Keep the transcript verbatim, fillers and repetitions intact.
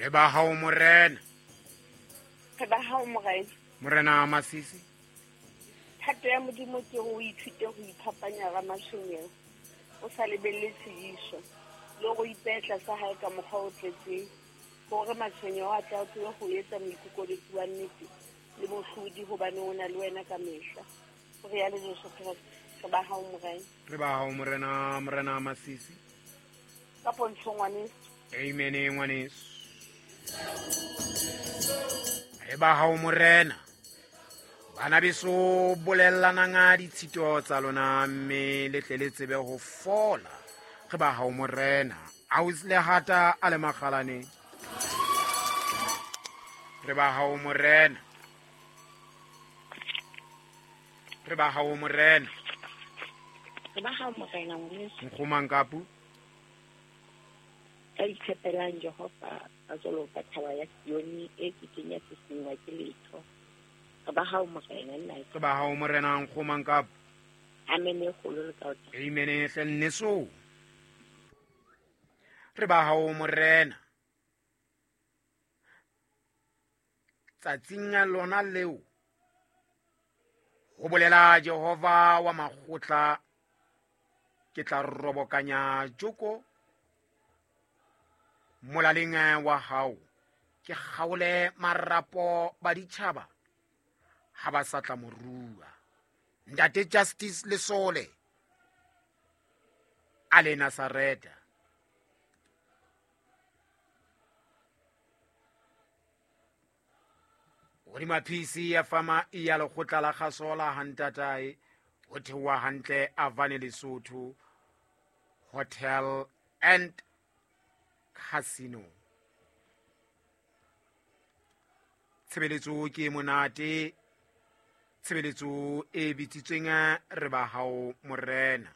Re ba hao morena. Re ba hao morena. Morena Masisi. Thato ya Modimo ke ho ithute ho iphapanya ra matshwenyeho. O sa lebelle tshidiso le go ipetla sa hae ka mokgwa o tletseng hore matshwenyeho a tla tsebe ho etsa moikokobetsi wa nnete le mohlodi hobane o na le wena ka mehla. O re ya le Jesu Kreste. Re ba hao morena. Re ba hao morena, morena Masisi. Ka pontsho ngwaneso. Amen ngwaneso. Re ba hao morena. Bana beso bolellanang ditshito tsa lona mme le tle le tsebe ho fola. Re ba hao morena. Aus le hata a le makgalane. Re ba hao morena. Re ba hao morena. Re ba hao morena ngwaneso. Nkgomang kapu. Ka itshepelang Jehova a tsolo ka thaba ya Sione e ke kenya sesengwa ke letho. Re ba hao morena nna. Re ba hao morena nkgomang kapu. Amen e kgolo le ka o. Amen e hle nneso. Re ba hao morena. Tsatsing lona leo ho bolela Jehova wa makgotla ke tla robokanya joko molaleng wa hao ke kgaole marapo ba ditjhaba ha ba sa tla morua. Ntate Justice Lesole a le Nazareta. Hodima P C ya fama ya lekgotla la kgaso la Hantatae ho theoha hantle Avane Lesotho Hotel and Casino. Tshebeletso ke monate, tshebeletso e bitsitsweng re ba hao morena.